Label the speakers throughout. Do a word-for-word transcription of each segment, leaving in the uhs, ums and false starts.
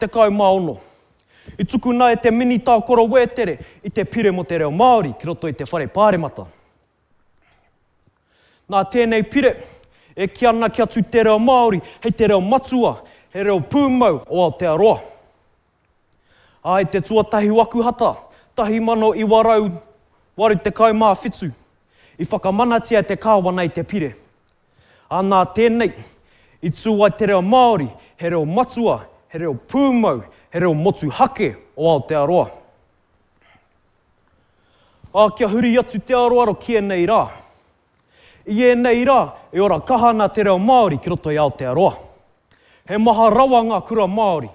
Speaker 1: tekau mā ono, i tukuna e te Minita o Koro Wētere i te Pire mō te Reo Māori ki roto i te Whare Pāremata. Nā tēnei pire, e kī ana kia tū te reo Māori hei te reo matua, he reo pūmau o Aotearoa. Ā, i te tuatahi o Akuhata, tahi mano iwa rau waru tekau mā whitu, i whakamanatia e te Kāwana i te pire. Ā, nā tēnei, i tū ai te reo Māori, he reo matua, he reo pūmau, he reo motuhake o Aotearoa. Ā, kia huri atu te aroaro ki ēnei rā. I ēnei rā, e ora kaha ana te reo Māori ki roto i Aotearoa. He maha rawa ngā kura Māori,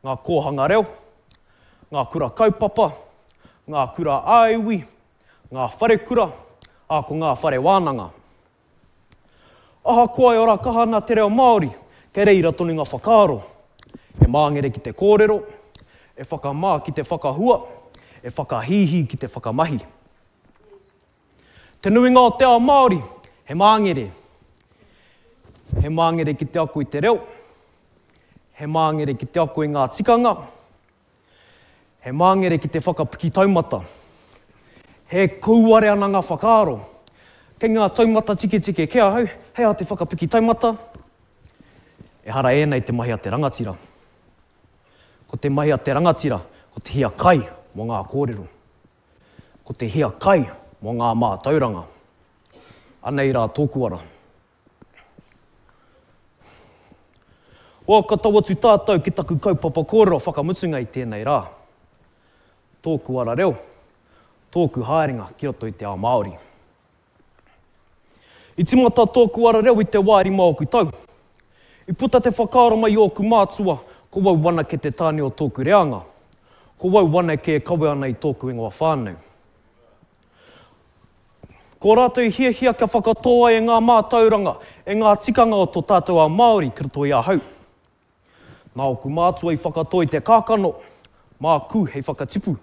Speaker 1: ngā kōhanga reo, ngā kura kaupapa, ngā kura ā-iwi, ngā wharekura, ā, ko ngā whare wānanga. Ahakoa e ora kaha ana te reo Māori, kei reira tonu ngā whakaaro. E māngere ki te kōrero, e whakamā ki te whakahua, e whakahīhī ki te whakamahi. Te nuinga o te ao Māori, he māngere. He māngere ki te ako i te reo, he māngere ki te ako i ngā tikanga, he māngere ki te whakapiki taumata. He kouare ana ngā whakaaro. Kei ngā taumata tiketike kē ahau, hei aha te whakapiki taumata? Ehara ēnei te mahi a te rangatira. Ko te mahi a te rangatira, ko te hiakai mō ngā kōrero. Ko te hiakai mō ngā mātauranga. Anei rā tōku ara. Well, ka tau atu tātou ki taku kaupapa kōrero whakamutunga i tēnei rā. Tōku ara reo, tōku haerenga ki roto i te ao Māori. I tīmata tōku ara reo i te wā e rima ōku tau. I puta te whakaaro mai i ōku mātua, ko wau anake te tāne o tōku reanga. Ko wau anake e kawe ana i tōku ingoa whānau. Ko rātou i hiahia kia whakatō ai e ngā mātauranga, e ngā tikanga o tō tātou ao Māori ki roto i ahau. Nā ōku mātua i whakatō i te kākano, māku hei whakatipu,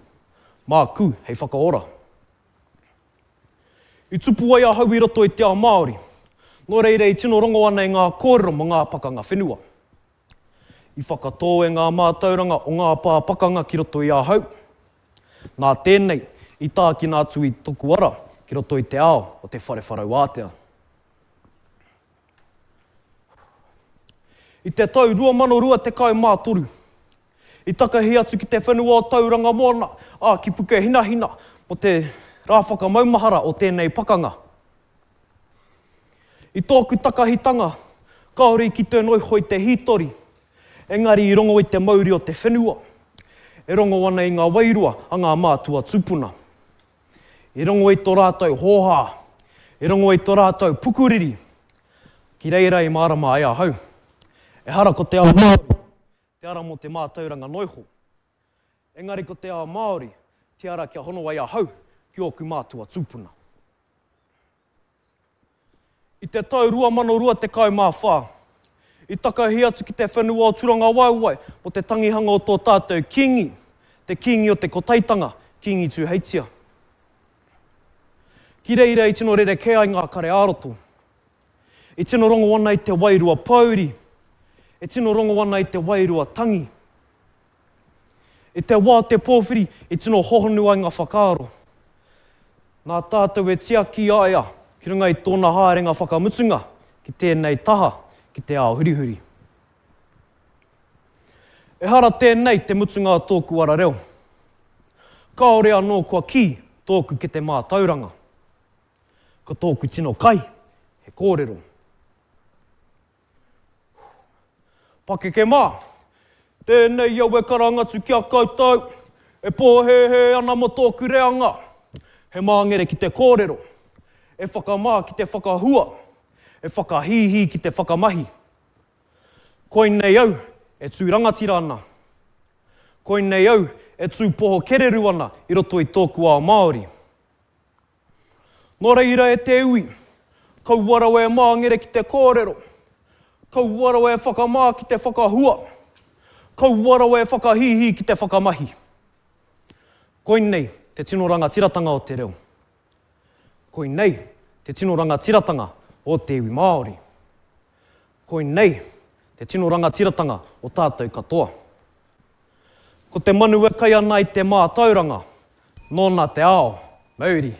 Speaker 1: māku hei whakaora. I tupu ai ahau i roto i te ao Māori, nō reira i tino rongo ana i ngā kōrero mō ngā pakanga whenua. I whakatō e ngā mātauranga o ngā pā pakanga ki roto i ahau. Nā tēnei, i tākina atu i toku ara ki roto i te ao o te whare wharau ātea. I te tau rua mano rua tekau mā toru, i takahi atu ki te whenua o Tauranga Moana, ā, ki Pukehinahina, mō te rā whakamaumahara o tēnei pakanga. I tōku takahitanga, kāore i kite noiho i te hītori, engari i rongo i te mauri o te whenua, e rongo ana i ngā wairua a ngā mātua tūpuna. I rongo i tō rātou hōhā, i rongo i tō rātou pukuriri, ki reira i mārama ai ahau. Ehara ko te ao Māori, te ara mō te mātauranga noiho. Engari ko te ao Māori, te ara kia hono ai ahau ki ōku mātua tūpuna. I te tau rua mano rua tekau mā whā, i takahi atu ki te whenua o Turangawaewae mō te tangihanga o tō tātou Kīngi, te Kīngi o te Kotaitanga, Kīngi Tūheitia. Ki reira i tino rerekē ai ngā kare ā-roto. I tino rongo ana i te wairua pōuri, e tino rongo ana i te wairua tangi. I te wā o te pōwhiri i tino hohonu ai ngā whakaaro. Nā tātou e tiaki a ia ki runga i tōna haerenga whakamutunga ki tēnei taha ki te ao hurihuri. Ehara tēnei te mutunga o tōku ara reo. Kāore anō kua kī tōku kete mātauranga. Ko tōku tino kai, he kōrero. Pakeke mā, tēnei au e karanga atu ki a koutou, e pōhēhē ana mō tōku reanga, he māngere ki te kōrero, e whakamā ki te whakahua, e whakahīhī ki te whakamahi. Koinei au e tū rangatira ana. Koinei au e tū poho kereru ana i roto i tōku ao Māori. Nō reira e te iwi, kaua rawa e māngere ki te kōrero, kaua rawa e whakamā ki te whakahua, kaua rawa e whakahīhī ki te whakamahi. Koinei te tino rangatiratanga o te reo. Koinei te tino rangatiratanga o te iwi Māori. Koinei te tino rangatiratanga o tātou katoa. Ko te manu e kai ana i te mātauranga, nōna te ao, mauri.